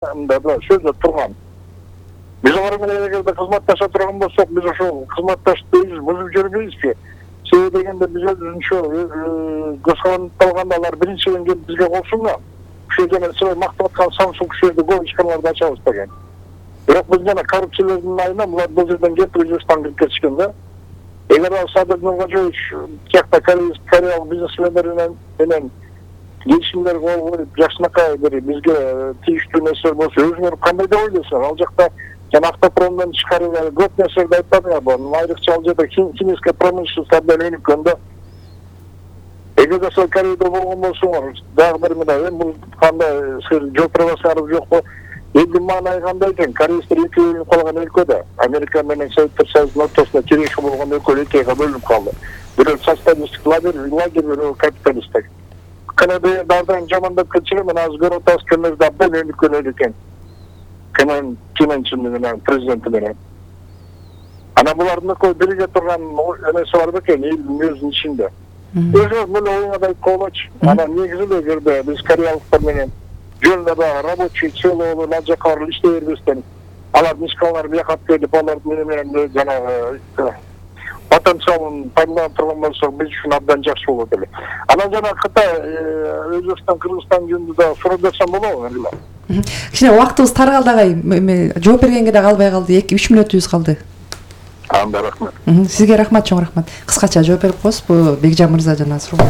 да сөздөп турган. Биз алар менен эгерде кызматташа турган болсок, биз ошол кызматташты бузуп жүрбөйбүзбү? Себеби дегенде биз өзүнчө көзкарандалганда алар биринчиден келип бизге кошулган. Ушул жана силер мактап аткан Samsung ушерде көп ишканаларды ачабыз деген. Бирок биз жана коррупциялардын айына булар бул жерден келип Өзбекстанга кирип кетишкен да. Эгер ал Садыр Нуркожоевич тиякта кореялык бизнесмендер менен келишимдер кол коюп жакшынакай бир бизге тийиштүү нерселер болсо, өзүңөр кандай деп ойлойсуңар? Ал жакта жана автопромдон чыгарып көп нерселерди айтпадыңарбы? Айрыкча ал жерде химическая промышленность абдан өнүккөн да. Эгерде силер Кореяда болгон болсоңор, дагы бир мындай, бул кандай силер жооп бере аласыңарбы жокпу? Элдин маанайы кандай экен? Кореецтер экөө бөлүнүп калган өлкөдө. Америка менен Советтер Союзунун ортосунда тирешүү болгон өлкө экөөгө бөлүнүп калды. Бирөө социалисттик лагерь, бирөө капиталисттик. Канада дардан жамандап кетчү, мен азыр көрүп атабыз, Канада абдан өнүккөн эл экен. Ким Чен менен президенти менен. Ана булардын экөө бирге турган эмеси бар бекен, элдин өзүнүн ичинде. Өзү мына оюңа айтып коелучу. Ана негизи эгерде биз кореялыктар менен жөнүндө рабочий целый ал жака барып иштей бербестен, алардын ишканалары бияка келип, алардын менен жанагы потенциалын пайдаланып турган болсок, биз үчүн абдан жакшы болот эле. Анан жана Кытай, Өзбекстан, Кыргызстан жөнүндө да суроо берсем болобу эле? Кичине убактыбыз таргалды агай. Жооп бергенге да калбай калды. 2-3 мүнөтүбүз калды. Анда рахмат. Сизге рахмат, чоң рахмат. Кыскача жооп берип коесузбу Бекжан мырза жана суроо?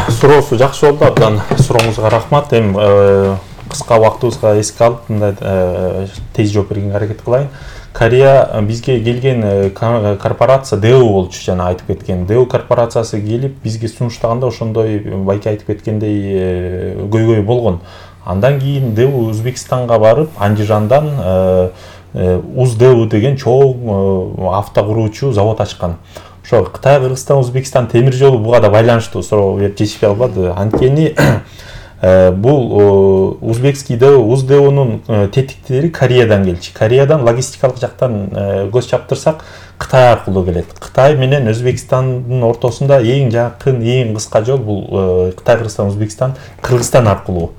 Суроосу жакшы болду, абдан сурооңузга рахмат. Эми кыска убактыбызга эске алып, мындай тез жооп бергенге аракет кылайын. Корея бизге келген корпорация ДЭУ болчу, жана айтып кеткен. ДЭУ корпорациясы келип бизге сунуштаганда ошондой байке айтып кеткендей көйгөй болгон. Андан кийин ДЭУ Өзбекстанга барып, Андижандан УЗДЭУ деген чоң автокуруучу завод ачкан. Ошо Кытай, Кыргызстан, Өзбекстан темир жолу буга да байланыштуу суроо берип жетишпей албады. Анткени бул узбекский ДЭУ, УЗДЭУнун тетиктери Кореядан келчү. Кореядан логистикалык жактан көз чаптырсак, Кытай аркылуу келет. Кытай менен Өзбекстандын ортосунда эң жакын, эң кыска жол бул Кытай, Кыргызстан, Өзбекстан, Кыргызстан аркылуу.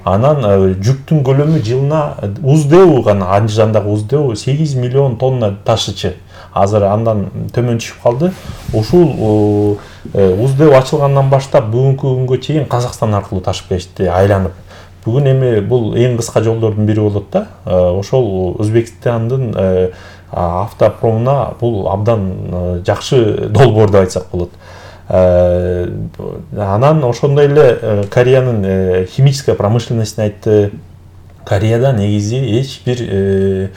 Анан жүктүн көлөмү жылына УЗДЭУ гана, Андижандагы УЗДЭУ 8 миллион тонна ташычы. Азыр андан төмөн түшүп калды. Ушул УЗДЭУ ачылгандан баштап бүгүнкү күнгө чейин Казакстан аркылуу ташып келишти, айланып. Бүгүн эми бул эң кыска жолдордун бири болот да. Ошол Өзбекстандын автопромуна бул абдан жакшы долбоор деп айтсак болот. Анан ошондой эле Кореянын химическая промышленностун айтты. Кореяда негизи эч бир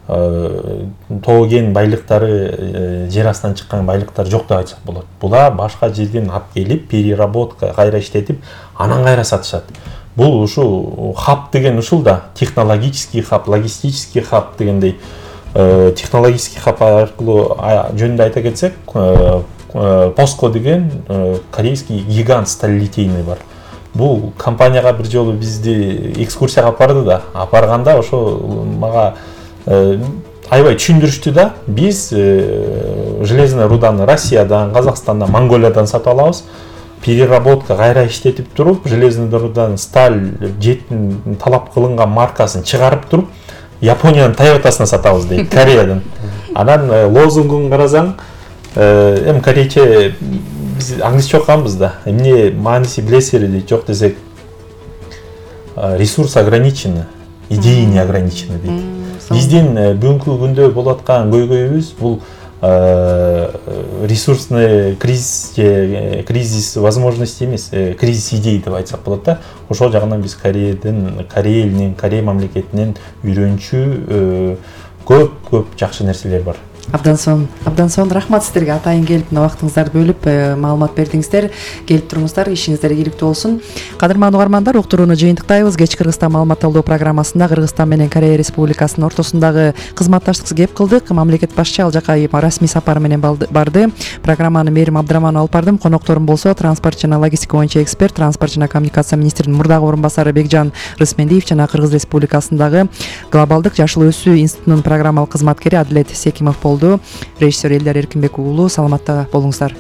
тоген байлыктары, жер астынан чыккан байлыктар жок деп айтсак болот. Булар башка жерден алып келип, переработка кайра иштетип, анан кайра сатышат. Бул ушу хаб деген ушул да, технологический хаб, логистический хаб дегендей. Технологический хаб аркылуу жөнүндө айта кетсек, POSCO деген корейский гигант сталелитейный бар. Бул компанияга бир жолу бизди экскурсияга апарды да, апарганда ошо мага аябай түшүндүрүштү да. Биз железный руданы Россиядан, Казакстандан, Монголиядан сатып алабыз. Переработка кайра иштетип туруп, железный рудан сталь жеттин талап кылынган маркасын чыгарып туруп, Япониянын Toyotасына сатабыз дейт, Кореядан. Анан лозунгун карасаң, эми корейче биз англисче окуганбыз да. Эмне мааниси билесиздер дейт, жок десек ресурс ограничены, идеи не ограничены дейт. Биздин бүгүнкү күндө болуп аткан көйгөйүбүз бул ресурсный кризис возможности эмес, кризис идей деп айтсак болот да. Ошол жагынан биз Корея элинен, Корея мамлекетинен үйрөнчү көп жакшы нерселер бар. Абдан сонун рахмат сиздерге, атайын келип мына убактыңыздарды бөлүп маалымат бердиңиздер. Келип туруңуздар, ишиңиздер ийгиликтүү болсун. Кадырман угармандар, уктурууну жыйынтыктайбыз. Кечки Кыргызстан маалымат алуу программасында Кыргызстан менен Корея Республикасынын ортосундагы кызматташтык кеп кылдык. Мамлекет башчы ал жака расмий сапар менен барды. Программаны Мээрим Абдыраманова алып бардым. Конокторум болсо транспорт жана логистика боюнча эксперт, транспорт жана коммуникация министринин мурдагы орун басары Бекжан Рысмендиев жана Кыргыз Республикасындагы глобалдык жашыл өсүү институтунун программалык кызматкери Адилет Секимов болду. Режиссер Элдар Эркинбек уулу. Саламатта болуңуздар.